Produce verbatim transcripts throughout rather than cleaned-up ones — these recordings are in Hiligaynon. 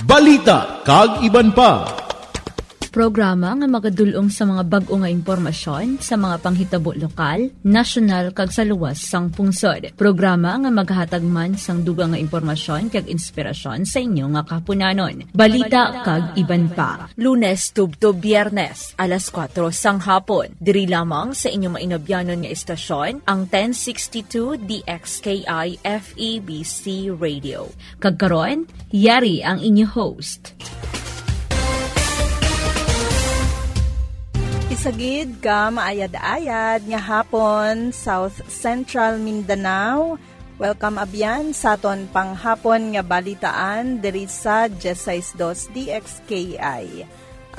Balita kag iban pa. Programa nga magadul-ong sa mga bag-o nga impormasyon sa mga panghitabo lokal, nasyonal, kag sa luwas sang pungsod. Programa nga maghatag man sang dugang nga impormasyon kag inspirasyon sa inyo nga kahaponanon. Balita kag iban pa. Lunes tubtob Biyernes, alas kuwatro sang hapon. Diri lamang sa inyo mainabyanon nga istasyon, ang ten sixty-two D X K I F E B C Radio. Kag karon, yari ang inyo host. Isagid ka maayad-ayad nga hapon, South Central Mindanao. Welcome, abyan, sa aton panghapon nga balitaan diri sa diyesais dos D X K I.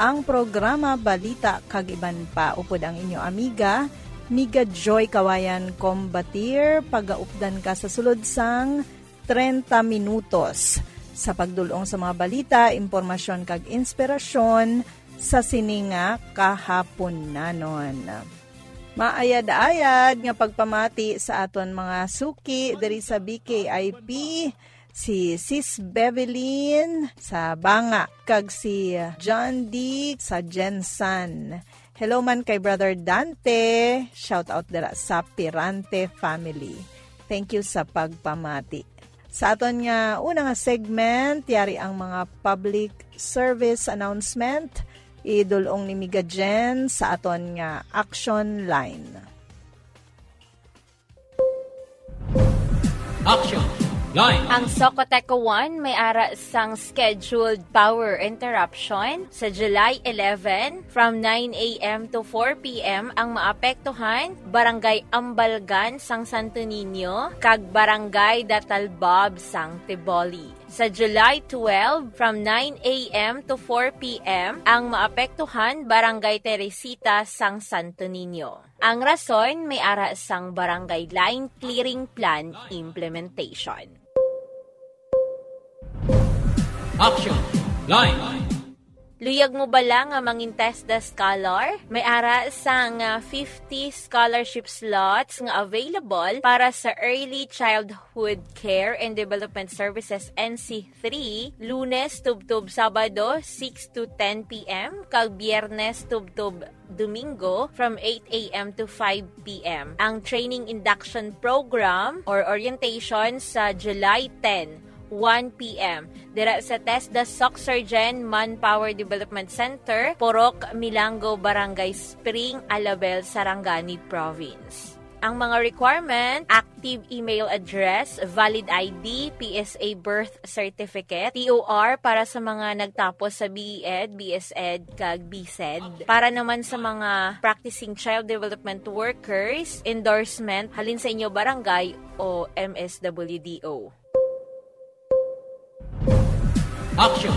Ang programa Balita kag Iban Pa upod ang inyo amiga, Miga Joy Kawayan Combatir. Pagaupdan ka sa sulod sang treinta minutos sa pagdul-ong sa mga balita, impormasyon kag inspirasyon sa sini nga kahaponanon. Maayad-ayad nga pagpamati sa aton mga suki diri sa B K I P, si Sis Bevelyn sa Banga, kag si John D sa Gensan. Hello man kay Brother Dante, shout out dira sa Pirante family. Thank you sa pagpamati. Sa aton nga una nga segment, yari ang mga public service announcement. Idul-ong ni Miga Jen sa aton nga action line. Action line. Ang Socoteco one may ara sang scheduled power interruption sa July eleven from nine a m to four p m. Ang maapektuhan, Barangay Ambalgan sang Santo Niño kag Barangay Datalbab sang Tiboli. Sa July twelve, from nine a m to four p m, ang maapektuhan Barangay Teresita sang Santo Niño. Ang rason may ara sang Barangay Line Clearing Plan implementation. Action line. Luyag mo bala nga mangin TESDA scholar? May ara sang, ah, fifty scholarship slots nga available para sa Early Childhood Care and Development Services, N C three, Lunes tubtob Sabado, six to ten p m, kag Biyernes tubtob Domingo, from eight a m to five p m. Ang training induction program or orientation sa July ten, one p m, dira sa TESDA Soc Surgen Manpower Development Center, Purok Milango, Barangay Spring, Alabel, Sarangani Province. Ang mga requirement: active email address, valid I D, P S A birth certificate, T O R para sa mga nagtapos sa B E Ed, B S Ed, kag B Sed. Para naman sa mga practicing child development workers, endorsement halin sa inyo barangay o M S W D O. Action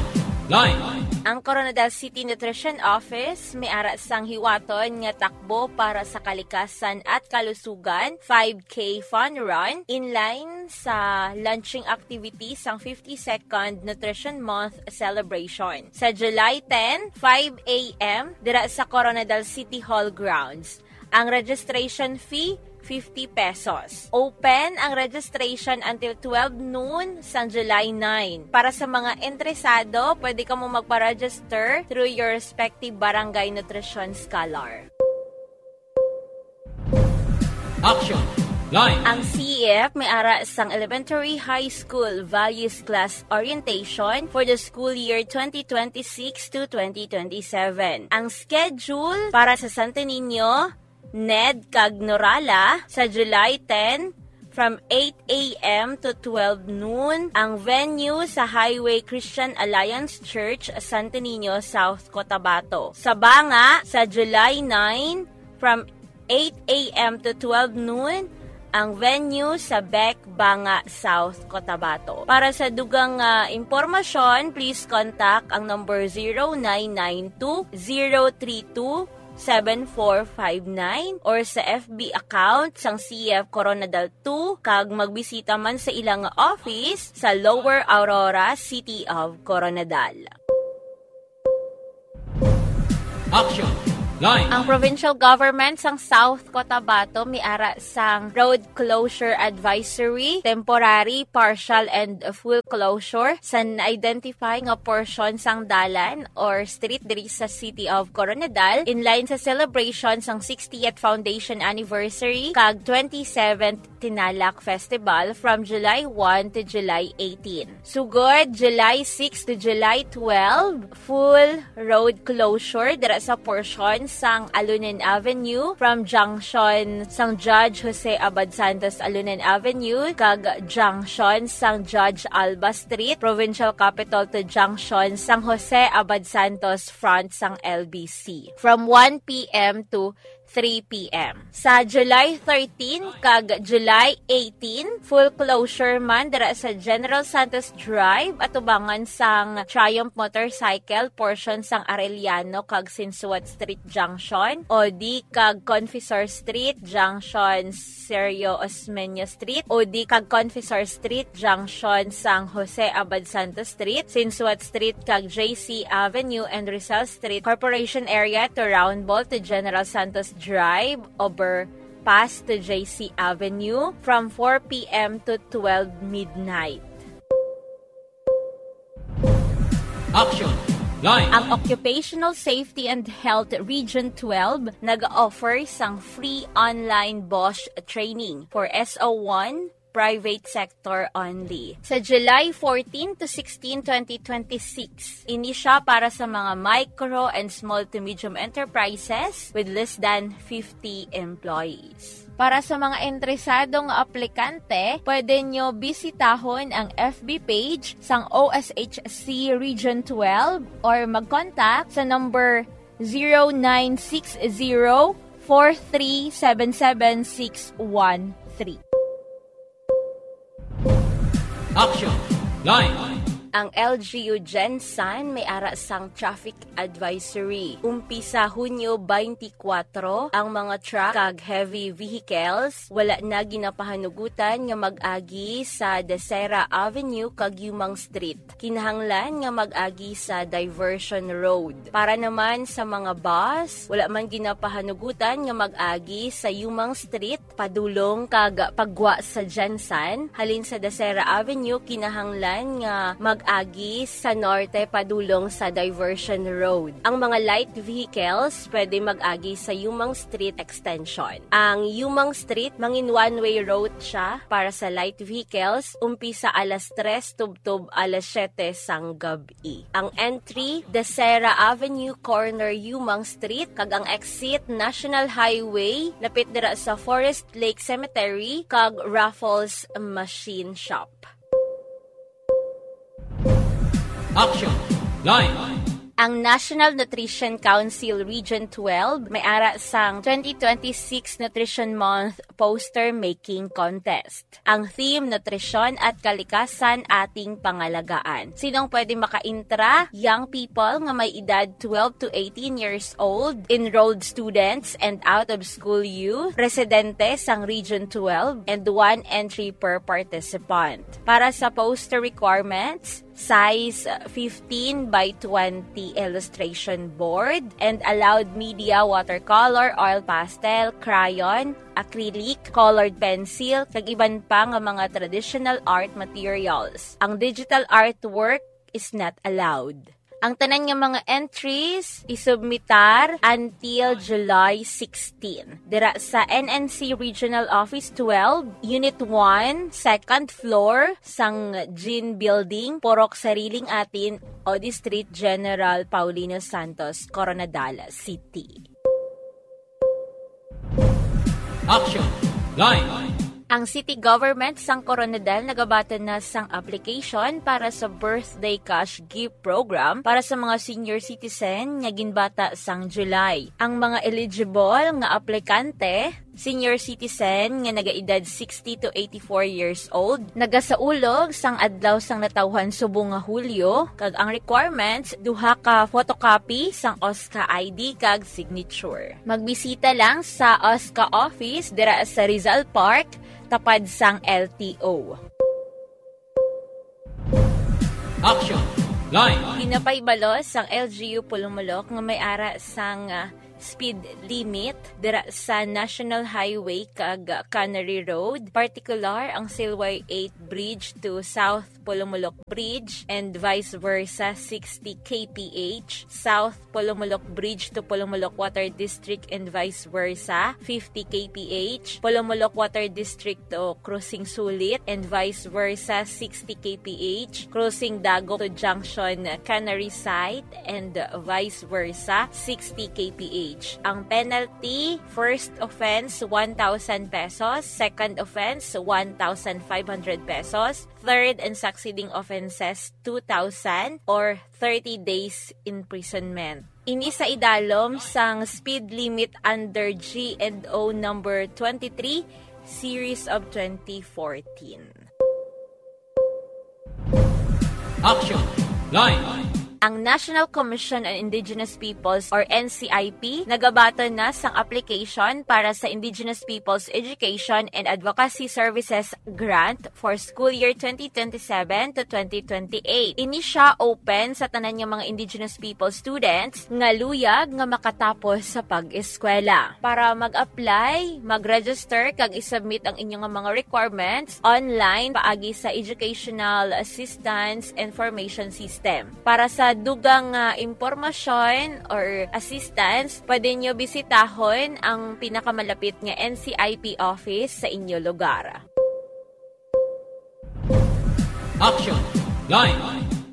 line. Ang Koronadal City Nutrition Office may ara sang hiwaton nga takbo para sa kalikasan at kalusugan, five K Fun Run, inline sa launching activity sang fifty-second Nutrition Month celebration sa July ten, five a m, dira sa Koronadal City Hall grounds. Ang registration fee, fifty pesos. Open ang registration until twelve noon sang July nine. Para sa mga interesado, pwede kamo magpa-register through your respective barangay nutrition scholar. Action line. Ang C E F may ara sang Elementary High School Values Class Orientation for the school year twenty twenty-six to twenty twenty-seven. Ang schedule para sa Santo Niño, Ned, kag Norala sa July ten from eight a m to twelve noon. Ang venue sa Highway Christian Alliance Church, Santo Niño, South Cotabato. Sa Banga sa July nine from eight a m to twelve noon. Ang venue sa Bec, Banga, South Cotabato. Para sa dugang, ah, impormasyon, please contact ang number zero nine nine two, zero three two, seven four five nine or sa F B account sang C E F Koronadal two, kag magbisita man sa ila nga office sa Lower Aurora, City of Koronadal. Action Ang provincial government sang South Cotabato may ara sang road closure advisory, temporary, partial, and full closure sa na-identify nga portion sang dalan or street diri sa City of Koronadal in line sa celebration sang sixtieth foundation anniversary kag twenty-seventh Tinalak Festival from July one to July eighteen. Sugod, July six to July twelve, full road closure dira sa portion sang Alunin Avenue from junction sang Judge Jose Abad Santos Alunin Avenue kag junction sang Judge Alba Street, Provincial Capital to junction sang Jose Abad Santos front sang L B C from one p m to three p m. Sa July thirteen kag July eighteen, full closure man dira sa General Santos Drive, atubangan sang Triumph Motorcycle, portion sang Arellano kag Sinsuat Street Junction, O D kag Confessor Street Junction, Sergio Osmeña Street, O D kag Confessor Street Junction sang Jose Abad Santos Street, Sinsuat Street kag J C Avenue and Rizal Street, Corporation Area to Round Ball to General Santos Drive, overpass to J C Avenue from four p m to twelve midnight. Action Line. Ang Occupational Safety and Health Region twelve nag-offer sang free online BOSH training for S O one, private sector only. Sa July fourteen to sixteen, twenty twenty-six, ini siya para sa mga micro and small to medium enterprises with less than fifty employees. Para sa mga interesado nga aplikante, pwede nyo bisitahon ang F B page sang O S H C Region twelve or mag-contact sa number zero nine six zero four three seven seven six one three. Action Line. Ang L G U GenSan may ara sang traffic advisory. Umpisa Hunyo twenty-four, ang mga truck kag heavy vehicles wala na ginapahanugutan nga mag-agi sa Desera Avenue kag Yumang Street. Kinahanglan nga mag-agi sa diversion road. Para naman sa mga bus, wala man ginapahanugutan nga mag-agi sa Yumang Street padulong kag paggwa sa GenSan. Halin sa Desera Avenue, kinahanglan nga mag-agi sa norte padulong sa diversion road. Ang mga light vehicles pwede mag-agi sa Yumang Street Extension. Ang Yumang Street, mangin one-way route siya para sa light vehicles, umpisa alas tres tubtob alas siyete sang gab-i. Ang entry, Desera Avenue, corner Yumang Street, kag ang exit, National Highway, lapit dira sa Forest Lake Cemetery kag Raffles Machine Shop. Action Line. Ang National Nutrition Council Region twelve may ara sang twenty twenty-six Nutrition Month Poster Making Contest. Ang theme, Nutrisyon at Kalikasan, Ating Pangalagaan. Sinong pwede makaintra? Young people nga may edad twelve to eighteen years old, enrolled students and out-of-school youth, residente sang Region twelve, and one entry per participant. Para sa poster requirements, size fifteen by twenty illustration board, and allowed media, watercolor, oil pastel, crayon, acrylic, colored pencil, kag iban pa nga mga traditional art materials. Ang digital artwork is not allowed. Ang tanan nga mga entries isubmitar until July sixteen dira sa N N C Regional Office twelve, Unit one, second floor sang Gin Building, Purok Sariling Atin, O D Street, General Paulino Santos, Koronadal City. Action Line. Ang city government sang Koronadal nagabaton na sang application para sa birthday cash gift program para sa mga senior citizen nga ginbata sang July. Ang mga eligible nga aplikante, senior citizen nga nagaedad sixty to eighty-four years old, nagasaulog sang adlaw sang natawhan subong nga Hulyo, kag ang requirements, duha ka photocopy sang OSCA I D kag signature. Magbisita lang sa OSCA office dira sa Rizal Park, tapad sang L T O. Action Line. Ginapahibalos sang L G U Pulumulok nga may ara sang, ah, speed limit dira sa National Highway kag Cannery Road, partikular ang Silway eight Bridge to South Polomolok Bridge and vice versa, sixty K P H, South Polomolok Bridge to Polomolok Water District and vice versa, fifty K P H, Polomolok Water District to Crossing Sulit and vice versa, sixty K P H, Crossing Dago to Junction Cannery Site and vice versa, sixty K P H. Ang penalty, first offense, one thousand pesos, second offense, one thousand five hundred pesos, third and succeeding offenses, two thousand or thirty days imprisonment. Ini sa idalom sang speed limit under G and O number twenty-three, series of twenty fourteen. Action Line. Ang National Commission on Indigenous Peoples or N C I P nagabaton na sang application para sa Indigenous Peoples Education and Advocacy Services Grant for school year twenty twenty-seven to twenty twenty-eight. Ini siya open sa tanan nga mga Indigenous People students nga luyag nga makatapos sa pag-eskwela. Para mag-apply, mag-register kag i-submit ang inyo nga mga requirements online paagi sa Educational Assistance Information System. Para sa dugang nga impormasyon or assistance, pwede nyo bisitahon ang pinakamalapit nga N C I P office sa inyo lugar. Action Line.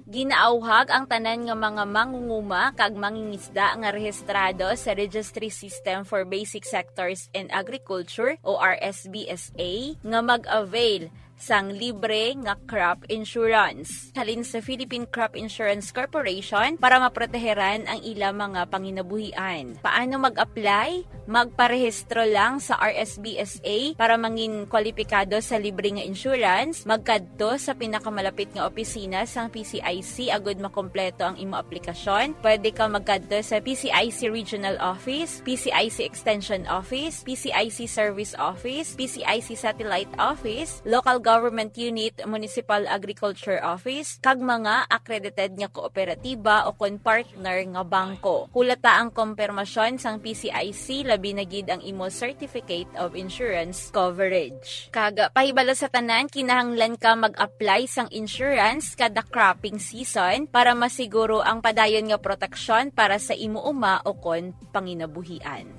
Ginaawhag ang tanan nga mga mangunguma kag mangingisda nga rehistrado sa Registry System for Basic Sectors in Agriculture o R S B S A nga mag-avail sang libre nga crop insurance halin sa Philippine Crop Insurance Corporation para maproteheran ang ila mga panginabuhian. Paano mag-apply? Magparehistro lang sa R S B S A para mangin kwalipikado sa libre nga insurance. Magkadto sa pinakamalapit nga opisina sang P C I C agud makompleto ang imo aplikasyon. Pwede ka magkadto sa P C I C Regional Office, P C I C Extension Office, P C I C Service Office, P C I C Satellite Office, Local Government Unit, Municipal Agriculture Office, kag mga accredited nga kooperatiba o kon partner nga bangko. Hulata ang kompermasyon sang P C I C, labi na gid ang imo Certificate of Insurance Coverage. Kag pahibalo sa tanan, kinahanglan ka mag-apply sang insurance kada cropping season para masiguro ang padayon nga proteksyon para sa imo uma o kon panginabuhian.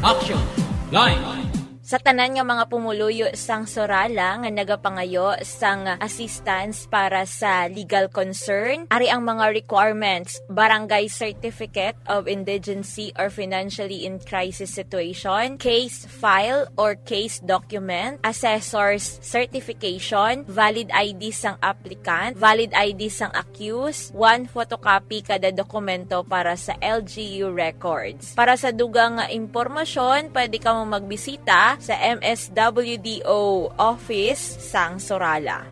Action Line. Sa tanan nga mga pumuluyo sang Sorala nga nagapangayo sang assistance para sa legal concern, ari ang mga requirements: barangay certificate of indigency or financially in crisis situation, case file or case document, assessor's certification, valid I D sang applicant, valid I D sang accused, one photocopy kada dokumento para sa L G U records. Para sa dugang nga impormasyon, pwede kamo magbisita sa M S W D O office sang Sorala.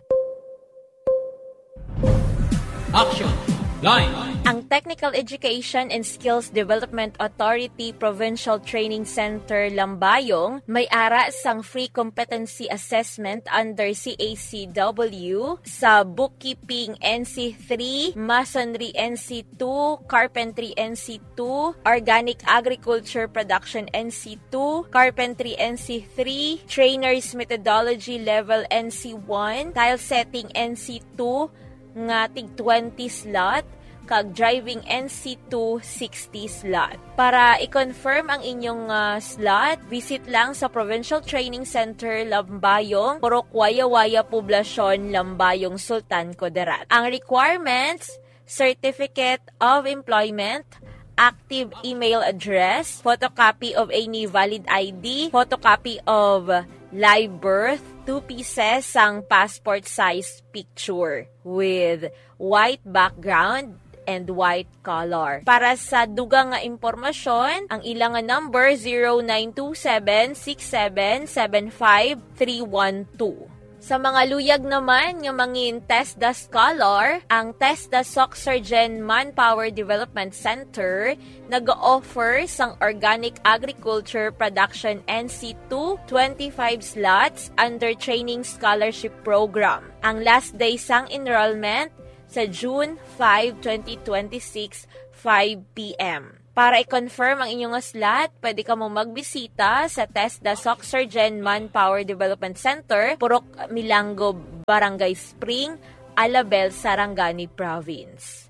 Action Line. Ang Technical Education and Skills Development Authority Provincial Training Center Lambayong may ara sang free competency competency assessment under C A C W sa Bookkeeping N C three, Masonry N C two, Carpentry N C two, Organic Agriculture Production N C two, Carpentry N C three, Trainer's Methodology Level N C one, Tile Setting N C two, nga tig twenty slot, kag Driving N C two sixty slot. Para i-confirm ang inyong, ah, slot, visit lang sa Provincial Training Center, Lambayong, Purok Wayawaya Poblacion, Lambayong, Sultan Kudarat. Ang requirements: Certificate of Employment, active email address, photocopy of any valid I D, photocopy of live birth, two pieces sang passport size picture with white background and white color. Para sa dugang nga impormasyon, ang ila nga number, zero nine two seven six seven seven five three one two. Sa mga luyag naman nga mangin TESDA scholar, ang TESDA SocSurgen Manpower Development Center nag-offer sang Organic Agriculture Production N C two twenty-five slots under Training Scholarship Program. Ang last day sang enrollment sa June five, twenty twenty-six, five p m. Para i-confirm ang inyong slot, pwede kamo magbisita sa TESDA Soc Surgen Manpower Development Center, Purok Milango, Barangay Spring, Alabel, Sarangani Province.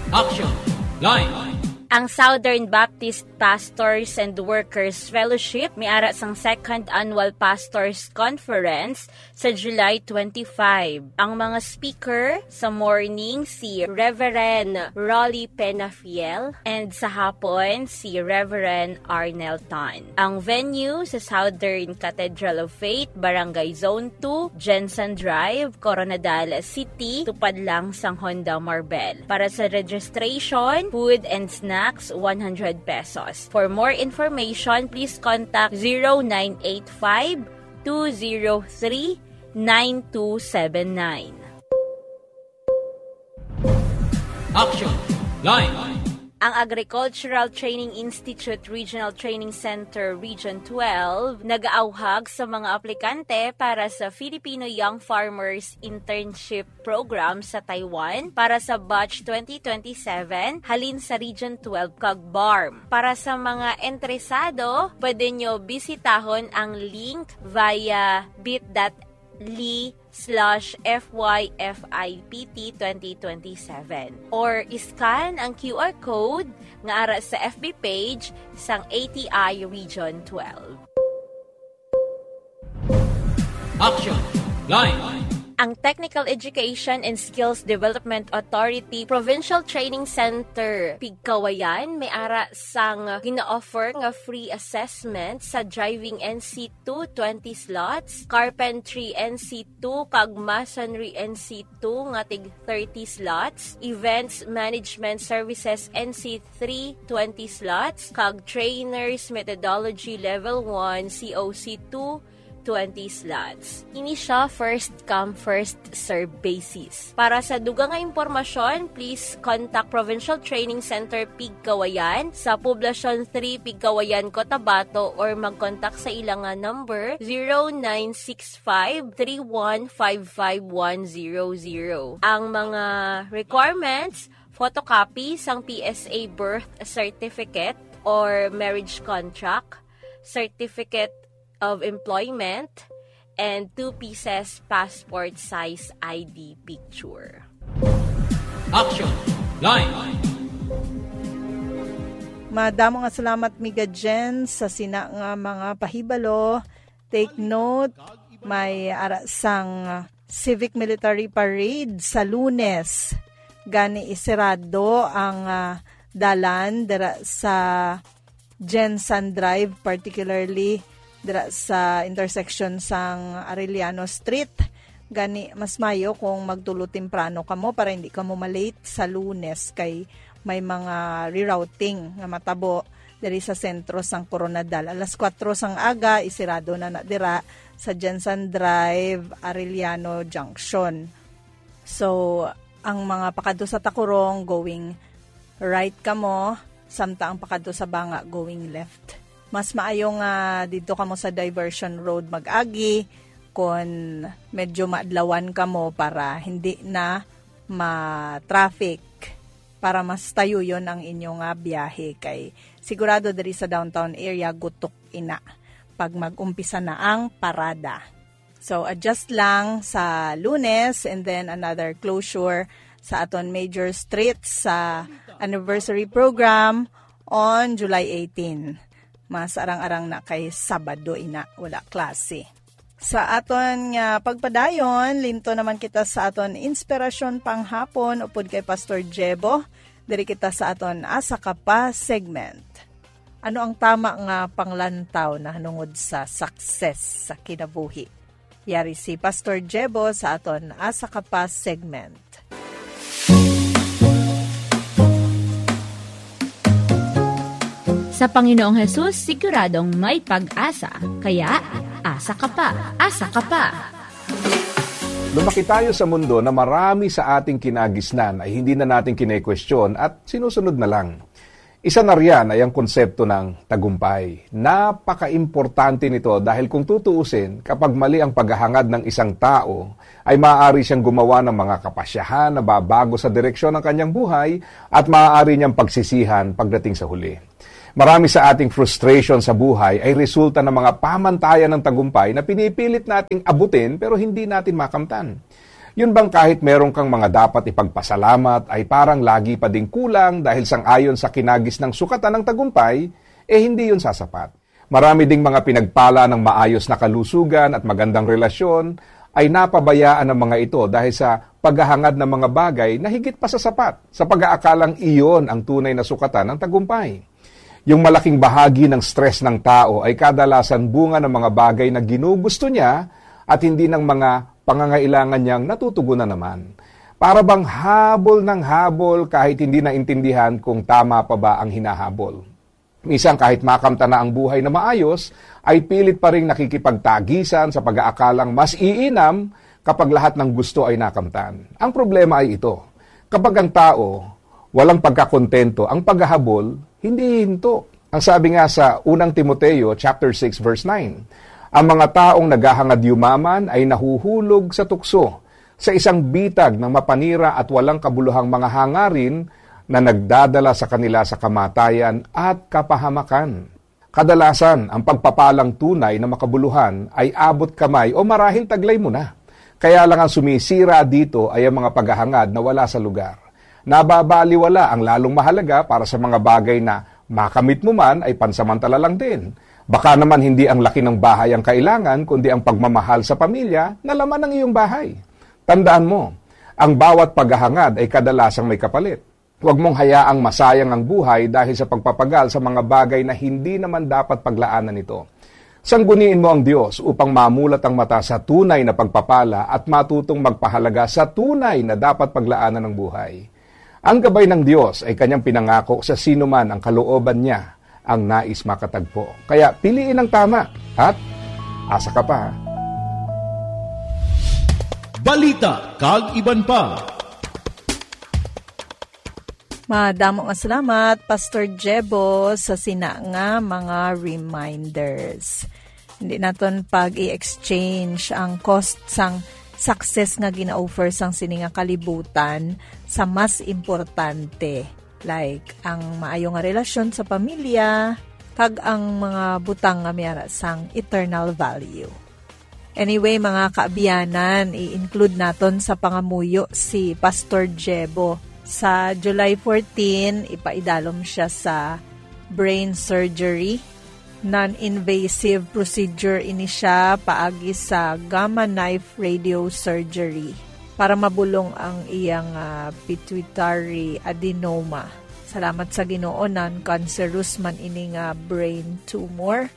Action Line. Ang Southern Baptist Pastors and Workers Fellowship may ara sang Second Annual Pastors Conference sa July twenty-five. Ang mga speaker sa morning si Reverend Rolly Penafiel and sa hapon si Reverend Arnel Tan. Ang venue sa Southern Cathedral of Faith, Barangay Zone two, Jensen Drive, Coronadal City, tupad lang sang Honda Marbel. Para sa registration, food and snacks, one hundred pesos. For more information, please contact zero nine eight five two zero three nine two seven nine. Action Line. Ang Agricultural Training Institute Regional Training Center Region twelve nagaawhag sa mga aplikante para sa Filipino Young Farmers Internship Program sa Taiwan para sa batch twenty twenty-seven halin sa Region twelve kag BARMM. Para sa mga interesado, pwede nyo bisitahon ang link via bit dot ly slash F Y F I P T twenty twenty-seven or iscan ang Q R code nga ara sa F B page sang A T I Region twelve. Action Line. Ang Technical Education and Skills Development Authority Provincial Training Center Pigkawayan may ara sang gina-offer nga free assessment sa driving N C two, twenty slots, carpentry N C two kag masonry N C two nga tig thirty slots, events management services N C three, twenty slots, kag trainers methodology level one C O C two, twenty slots. Ini siya first come, first serve basis. Para sa dugang nga impormasyon, please contact Provincial Training Center Pigkawayan sa Poblacion three Pigkawayan, Cotabato, or mag-contact sa ila nga number, zero nine six five three one five five one zero zero. Ang mga requirements, photocopy sang P S A birth certificate or marriage contract, certificate of employment, and two pieces passport size I D picture. Action Line. Madamo nga salamat, Miga Jen, sa sina nga mga pahibalo. Take note, may ara sang Civic Military Parade sa Lunes. Gani, isirado ang, ah, dalan dira sa Jensen Drive, particularly dira sa intersection sang Arellano Street. Gani, mas mayo kung magtulo temprano kamo para hindi kamo malate sa Lunes, kay may mga rerouting nga matabo diri sa sentro sang Coronadal. Alas kuwatro sang aga, isirado na na dira sa Jensen Drive, Arellano Junction. So, ang mga pakadto sa Tacurong, going right kamo, samtang ang pakadto sa Banga, going left. Mas maayo nga didto kamo sa diversion road mag-agi kon medyo maadlawan kamo para hindi na ma-traffic, para mas tayuyon ang inyo nga biyahe, kay sigurado diri sa downtown area gutok ina pag mag-umpisa na ang parada. So, adjust lang sa Lunes, and then another closure sa aton major streets sa anniversary program on July eighteen. Mas arang-arang na kay Sabado ina, wala klase. Sa aton nga pagpadayon, linto naman kita sa aton inspirasyon panghapon upod kay Pastor Jebo. Diri kita sa aton Asa Ka Pa segment. Ano ang tama nga panglantaw nahanungod sa success sa kinabuhi? Yari si Pastor Jebo sa aton Asa Ka Pa segment. Sa Panginoong Hesus, siguradong may pag-asa. Kaya, asa ka pa, asa ka pa. Lumaki tayo sa mundo na marami sa ating kinagisnan ay hindi na natin kine-question at sinusunod na lang. Isa na riyan ay ang konsepto ng tagumpay. Napakaimportante nito dahil kung tutuusin, kapag mali ang paghahangad ng isang tao, ay maaari siyang gumawa ng mga kapasyahan na babago sa direksyon ng kanyang buhay at maaari niyang pagsisihan pagdating sa huli. Marami sa ating frustration sa buhay ay resulta ng mga pamantayan ng tagumpay na pinipilit nating abutin pero hindi natin makamtan. Yun bang kahit meron kang mga dapat ipagpasalamat ay parang lagi pa ding kulang dahil sang-ayon sa kinagis ng sukatan ng tagumpay, eh hindi yun sasapat. Marami ding mga pinagpala ng maayos na kalusugan at magandang relasyon ay napabayaan ng mga ito dahil sa paghahangad ng mga bagay na higit pa sa sapat sa pag-aakalang iyon ang tunay na sukatan ng tagumpay. Yung malaking bahagi ng stress ng tao ay kadalasan bunga ng mga bagay na ginugusto niya at hindi ng mga pangangailangan niyang natutugunan naman. Para bang habol ng habol kahit hindi naintindihan kung tama pa ba ang hinahabol. Minsan kahit makamtan na ang buhay na maayos, ay pilit pa rin nakikipagtagisan sa pag-aakalang mas iinam kapag lahat ng gusto ay nakamtan. Ang problema ay ito, kapag ang tao walang pagkakontento, ang paghahabol hindi hinto. Ang sabi nga sa unang Timoteo chapter six verse nine, "Ang mga taong naghahangad yumaman ay nahuhulog sa tukso, sa isang bitag ng mapanira at walang kabuluhang mga hangarin na nagdadala sa kanila sa kamatayan at kapahamakan." Kadalasan, ang pagpapalang tunay na makabuluhan ay abot kamay o marahil taglay mo na. Kaya lang ang sumisira dito ay ang mga paghahangad na wala sa lugar. Nababaliwala ang lalong mahalaga para sa mga bagay na makamit mo man ay pansamantala lang din. Baka naman hindi ang laki ng bahay ang kailangan, kundi ang pagmamahal sa pamilya na laman ng iyong bahay. Tandaan mo, ang bawat paghahangad ay kadalasang may kapalit. Huwag mong hayaang masayang ang buhay dahil sa pagpapagal sa mga bagay na hindi naman dapat paglaanan nito. Sangguniin mo ang Dios upang mamulat ang mata sa tunay na pagpapala at matutong magpahalaga sa tunay na dapat paglaanan ng buhay. Ang gabay ng Dios ay kanyang pinangako sa sino man ang kalooban niya ang nais makatagpo. Kaya piliin ang tama at asa ka pa. Balita kag iban pa. Madamo nga salamat, Pastor Jebo, sa sina nga mga reminders. Hindi naton pag-i-exchange ang cost sang success nga gina-offer sang sini nga kalibutan sa mas importante, like ang maayo nga relasyon sa pamilya kag ang mga butang nga may ara sang eternal value. Anyway, mga kaabyanan, i-include naton sa pangamuyo si Pastor Jebo. Sa July fourteen, ipaidalom siya sa brain surgery. Non-invasive procedure ini siya paagi sa gamma knife radio surgery para mabulong ang iyang, ah, pituitary adenoma. Salamat sa Ginoo, non-cancerous man ini nga brain tumor.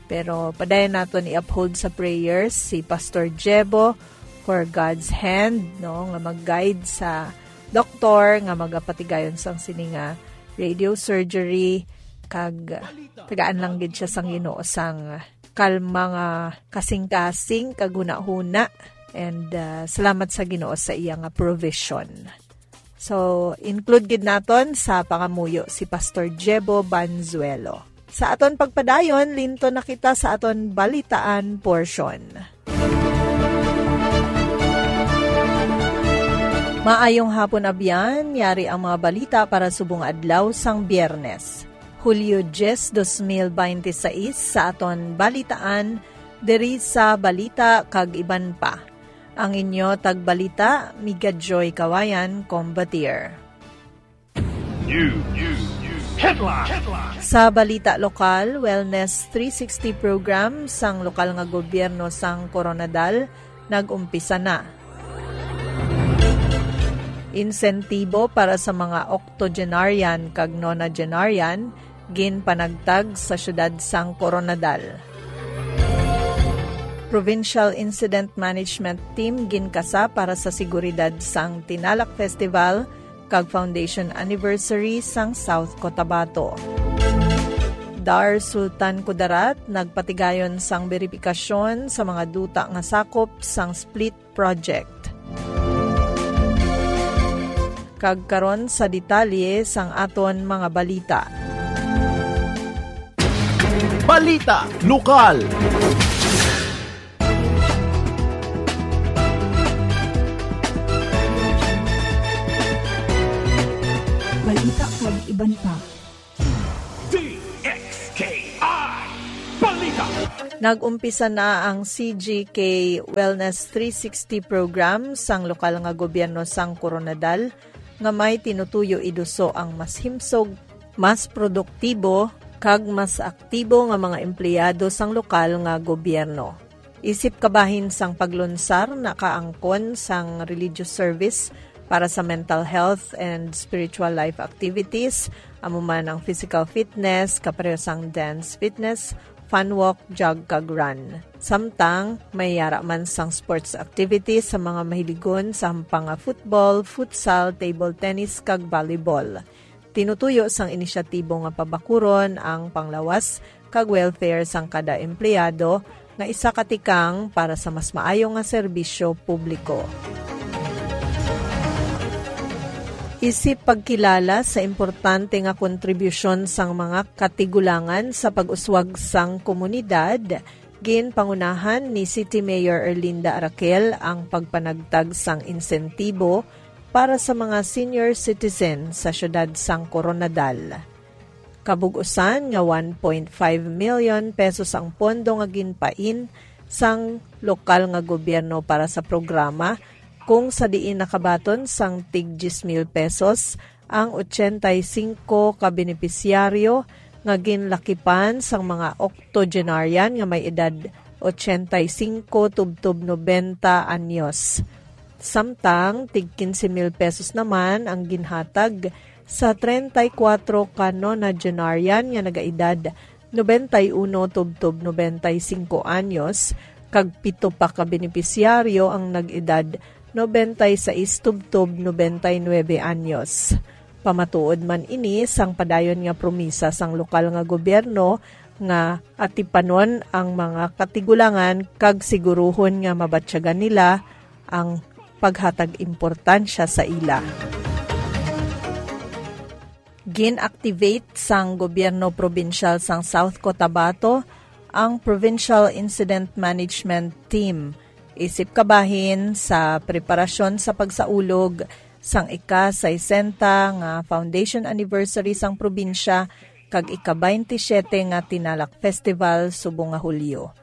Pero padayon naton i-uphold sa prayers si Pastor Jebo for God's hand, no, nga mag-guide sa doktor nga magapatigayon sang sini nga radio surgery, kag tagaan lang gid siya sang Ginoo sang kalma nga kasing-kasing kag hunahuna. And, ah, salamat sa Ginoo sa iya nga provision. So, include gid naton sa pangamuyo si Pastor Jebo Banzuelo. Sa aton pagpadayon, linto na kita sa aton balitaan portion. Maayong hapon, abyan. Yari ang mga balita para subong adlaw sang Biyernes, Hulyo diyes, dos mil binte seis, sa aton balitaan diri sa Balita kag Iban Pa. Ang inyo tagbalita, Miga Joy Kawayan, Combatier. News. News. Headline. Headline. Sa balita lokal, Wellness three sixty program sang lokal nga gobyerno sang Koronadal nag-umpisa na. Insentibo para sa mga octogenarian kag nonagenarian ginpanagtag sa siyudad sang Koronadal. Provincial Incident Management Team ginkasa para sa seguridad sang Tinalak Festival kag Foundation Anniversary sang South Cotabato. Dar Sultan Kudarat nagpatigayon sang beripikasyon sa mga duta nga sakop sang split project. Kag karon sa detalye sang aton mga balita. Balita Lokal. Balita kag iban pa. D X K I Balita. Nag-umpisa na ang C G K Wellness three sixty program sang lokal nga gobyerno sang Koronadal, nga may tinutuyo iduso ang mas himsog, mas produktibo, kag mas aktibo nga mga empleyado sang lokal nga gobyerno. Isip kabahin sang paglunsar, nakaangkon sang religious service para sa mental health and spiritual life activities, amo man ang physical fitness, kapareho sang dance fitness, fun walk, jog, kag run. Samtang may yara man sang sports activities sa mga mahiligon sa hampang nga football, futsal, table tennis, kag volleyball. Tinutuyo sang inisyatibo nga pabakuron ang panglawas kag welfare sang kada empleyado nga isa ka tikang para sa mas maayo nga serbisyo publiko. Isip pagkilala sa importante nga kontribusyon sang mga katigulangan sa pag-uswag sang komunidad, ginpangunahan ni City Mayor Erlinda Araquel ang pagpanagtag sang insentibo para sa mga senior citizen sa siyudad sang Koronadal. Kabug-usan nga one point five million pesos ang pondo nga ginpain sang lokal nga gobyerno para sa programa, kung sa diin nakabaton sang tig diyes mil pesos ang ochenta y cinco ka benepisyaryo nga ginlakipan sang mga octogenarian nga may edad ochenta y cinco tubtob nobenta anyos. Samtang tig quince mil pesos naman ang ginhatag sa treinta y cuatro ka nonagenarian nga nagaedad noventa y uno tubtob noventa y cinco anyos, kag pito pa ka benepisyaryo ang nag-edad noventa y seis tubtob noventa y nuebe anyos. Pamatuod man ini sang padayon nga promisa sang lokal nga gobyerno nga atipanon ang mga katigulangan kag siguruhon nga mabatyagan nila ang paghatag importansya sa ila. Gin-activate sang gobyerno probinsyal sang South Cotabato ang Provincial Incident Management Team, isip kabahin sa preparasyon sa pagsaulog sang ika-sesenta nga foundation anniversary sang probinsya kag ika-twenty-seven nga Tinalak Festival subong nga Hulyo.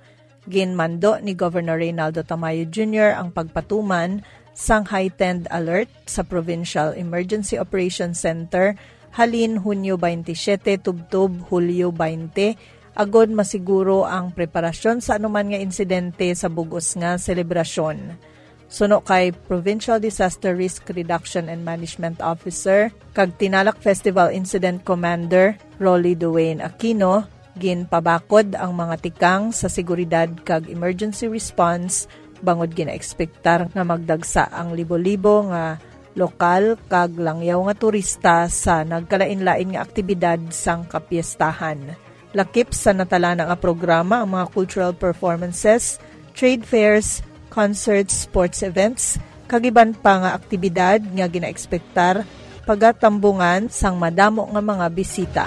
Ginmando ni Governor Reynaldo Tamayo Junior ang pagpatuman sang heightened alert sa Provincial Emergency Operations Center halin Hunyo twenty-seven tubtob Hulyo twenty, agod masiguro ang preparasyon sa anuman nga insidente sa bug-os nga selebrasyon. Suno kay Provincial Disaster Risk Reduction and Management Officer kag Tinalak Festival Incident Commander Rolly Duane Aquino, ginpabakod ang mga tikang sa seguridad kag emergency response bangod ginaekspektar nga magdagsa ang libo-libo nga lokal kag langyaw nga turista sa nagkalain-lain nga aktibidad sang kapiestahan. Lakip sa natalana nga programa ang mga cultural performances, trade fairs, concerts, sports events, kag iban pa nga aktibidad nga ginaekspektar pagatambungan sang madamo nga mga bisita.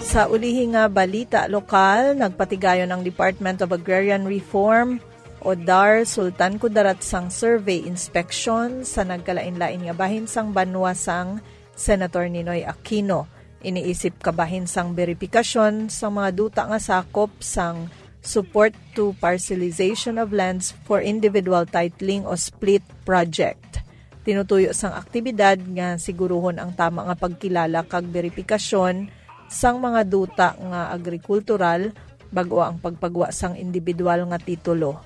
Sa ulihi nga balita lokal, nagpatigayon ang Department of Agrarian Reform o DAR Sultan Kudarat sang survey inspection sa nagkalain-lain nga bahin sang banwa sang Senator Ninoy Aquino. Iniisip kabahin sang beripikasyon sang mga duta nga sakop sang Support to Parcelization of Lands for Individual Titling o SPLIT project. Tinutuyo sang aktibidad nga siguruhon ang tama nga pagkilala kag beripikasyon sang mga duta nga agrikultural bag-o ang pagpagwa sang individual nga titulo.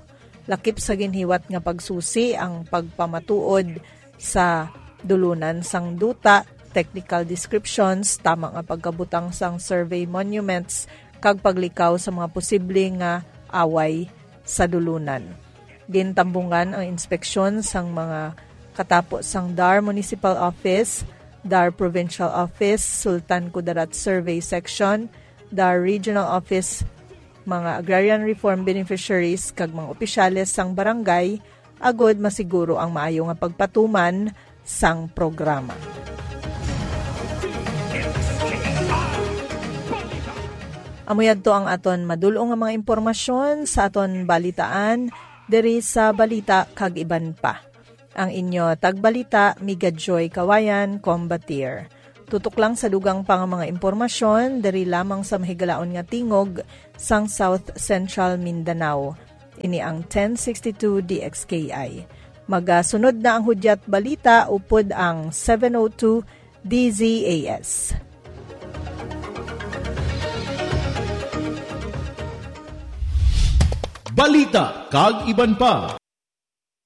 Lakip sa ginhiwat nga pagsusi ang pagpamatuod sa dulunan sang duta, technical descriptions, tama nga pagkabutang sang survey monuments, kag paglikaw sa mga posible nga away sa dulunan. Gintambungan ang inspeksyon sang mga katapo sang DAR Municipal Office, DAR Provincial Office, Sultan Kudarat Survey Section, DAR Regional Office, mga agrarian reform beneficiaries, kag mga opisyales sang barangay, agod masiguro ang maayo nga pagpatuman sang programa. Amo yadto ang aton madul-ong nga mga impormasyon sa aton balitaan diri sa Balita kag Iban Pa. Ang inyo tagbalita, Miga Joy Kawayan, Combatir. Tutok lang sa dugang pa nga mga impormasyon diri lamang sa mahigalaon nga tingog sang South Central Mindanao. Ini ang ten sixty-two D X K I. Magasunod na ang hudyat balita upod ang seven oh two D Z A S. Balita kag Iban Pa.